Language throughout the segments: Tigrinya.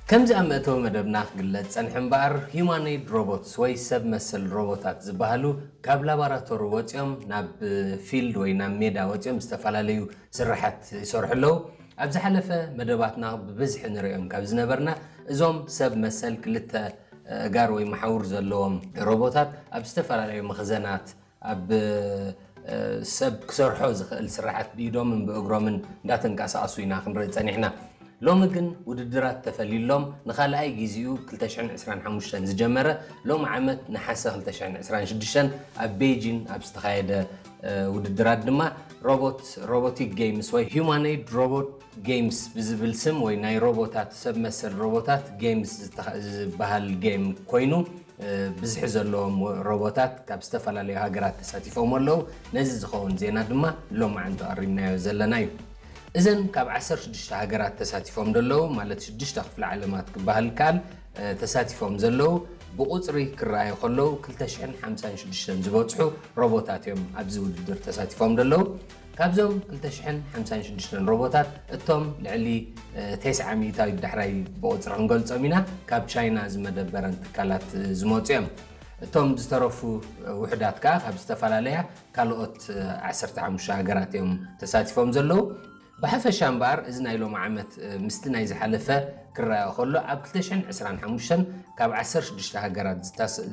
ከምዚ ኣብ መእተዊ መደብና ክግለጽ ጸንሐ እምበኣር፣ ሂዩማኖይድ ሮቦትስ ወይ ሰብ መሰል ሮቦታት ዝበሃሉ ካብ ላቦራቶሪ ወጺኦም ናብ ፊልድ ወይ ናብ ሜዳ ወጺኦም ዝተፈላለዩ ስራሓት ይሰርሑ ኣለዉ። ኣብ ዝሓለፈ መደባትና ብብዝሒ ንርእዮም ካብ ዝነበርና፣ እዞም ሰብ መሰል ክልተ ኣእጋር ወይ መሓውር ዘለዎም ሮቦታት ኣብ ዝተፈላለዩ መኽዘናት ኣብ ሰብ ክሰርሖ ዝኽእል ስራሓት ብኢዶምን ብእግሮምን እንዳተንቀሳቐሱ ኢና ክንርኢ ጸኒሕና። ሎሚ ግን ውድድራት ተፈሊሎም ንኻልኣይ ግዜኡ ክልተ ሽሕን ዕስራን ሓሙሽተን ዝጀመረ፣ ሎሚ ዓመት ነሓሰ ክልተ ሽሕን ዕስራን ሽዱሽተን ኣብ ቤጂን ኣብ ዝተኻየደ ውድድራት ድማ ሮቦት ሮቦቲክ ጌምስ ወይ ሂዩማኖይድ ሮቦት ጌምስ ብዝብል ስም ወይ ናይ ሮቦታት ሰብ መሰል ሮቦታት ጌምስ ዝበሃል ጌም ኮይኑ፣ ብዝሒ ዘለዎም ሮቦታት ካብ ዝተፈላለዩ ሃገራት ተሳቲፎም ኣለዉ። ነዚ ዝኸውን ዜና ድማ ሎማዓንቲ ቀሪብናዮ ዘለና እዩ። እዘን ካብ ዓሰርተ ሽዱሽተ ሃገራት ተሳቲፎም ዘለዉ፣ ማለት ሽዱሽተ ክፍለ ዓለማት ክበሃል ይከኣል፣ ተሳቲፎም ዘለዉ፣ ብቑጽሪ ክረኣዩ ከለዉ ክልተ ሽሕን ሓምሳን ሽዱሽተን ዝበጽሑ ሮቦታት እዮም ኣብዚ ውድድር ተሳቲፎም ዘለዉ። ካብዞም ክልተ ሽሕን ሓምሳን ሽዱሽተን ሮቦታት፣ እቶም ልዕሊ ተስዓ ሚእታዊት ዳሕራይ ብቑጽሪ ክንገልጾም ኢና፣ ካብ ቻይና ዝመደበረን ትካላት ዝመጹ እዮም። እቶም ዝተረፉ ውሑዳት ከኣ ካብ ዝተፈላለያ ካልኦት ዓሰርተ ሓሙሽተ ሃገራት እዮም ተሳቲፎም ዘለዉ። ብሓፈሻ እምበኣር፣ እዚ ናይ ሎሚ ዓመት ምስቲ ናይ ዝሓለፈ ክረኣዮ ከሎ፣ ኣብ ክልተ ሽሕን ዕስራን ሓሙሽተን ካብ ዓሰርተ ሽዱሽተ ሃገራት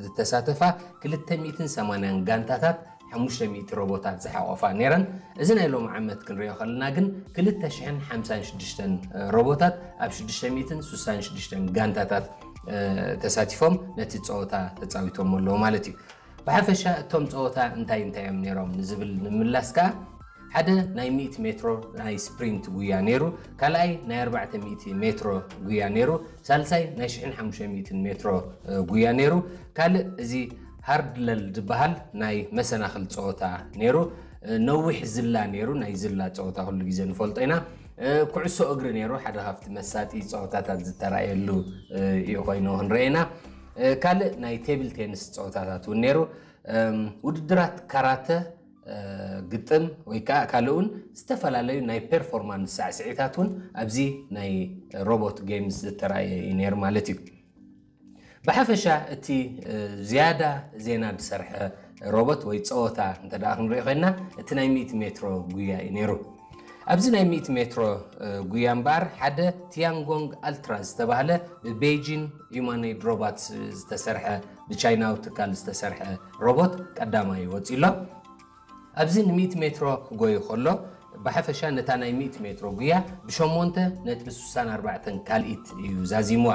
ዝተሳተፋ ክልተ ሚእትን ሰማንያን ጋንታታት ሓሙሽተ ሚእቲ ሮቦታት ዝሓቖፋ ነይረን። እዚ ናይ ሎሚ ዓመት ክንሪኦ ከለና ግን ክልተ ሽሕን ሓምሳን ሽዱሽተን ሮቦታት ኣብ ሽዱሽተ ሚእትን ስሳን ሽዱሽተን ጋንታታት ተሳቲፎም ነቲ ጸወታ ተጻዊቶም ኣለዉ ማለት እዩ። ብሓፈሻ እቶም ጸወታ እንታይ እንታይ እዮም ነይሮም ንዝብል ንምላስ ከኣ፣ ሓደ ናይ ሚእቲ ሜትሮ ናይ ስፕሪንት ጉያ ነይሩ፣ ካልኣይ ናይ ኣርባዕተ ሚእቲ ሜትሮ ጉያ ነይሩ፣ ሳልሳይ ናይ ሽሕን ሓሙሽተ ሚእትን ሜትሮ ጉያ ነይሩ፣ ካልእ እዚ ሃርድለል ዝበሃል ናይ መሰናኽል ጸወታ ነይሩ፣ ነዊሕ ዝላ ነይሩ፣ ናይ ዝላ ጸወታ ኩሉ ግዜ ንፈልጦ ኢና። ኩዕሶ እግሪ ነይሩ፣ ሓደ ካብቲ መሳጢ ጸወታታት ዝተራእየሉ እዩ ኮይኑ ክንርኤና። ካልእ ናይ ቴብል ቴኒስ ጸወታታት እውን ነይሩ። ውድድራት ካራተ፣ ግጥም ወይ ከዓ ካልእ እውን ዝተፈላለዩ ናይ ፐርፎርማንስ ሳዕስዒታት እውን ኣብዚ ናይ ሮቦት ጌምስ ዝተራእየ እዩ ነይሩ ማለት እዩ። ብሓፈሻ እቲ ዝያዳ ዜና ዝሰርሐ ሮቦት ወይ ጸወታ እንተ ደኣ ክንሪኦ ኮይንና፣ እቲ ናይ ሚእቲ ሜትሮ ጉያ እዩ ነይሩ። ኣብዚ ናይ ሚእቲ ሜትሮ ጉያ እምበኣር፣ ሓደ ቲያንጎንግ ኣልትራ ዝተባህለ ብቤጂን ሂዩማኖይድ ሮቦትስ ዝተሰርሐ፣ ብቻይናዊ ትካል ዝተሰርሐ ሮቦት ቀዳማይ ወጺኡ ኣሎ። ኣብዚ ንሚእቲ ሜትሮ ክጎዩ ከሎ፣ ብሓፈሻ ነታ ናይ ሚእቲ ሜትሮ ጉያ ብሸሞንተ ነጥቢ ስሳን ኣርባዕተን ካልኢት እዩ ዛዚምዋ።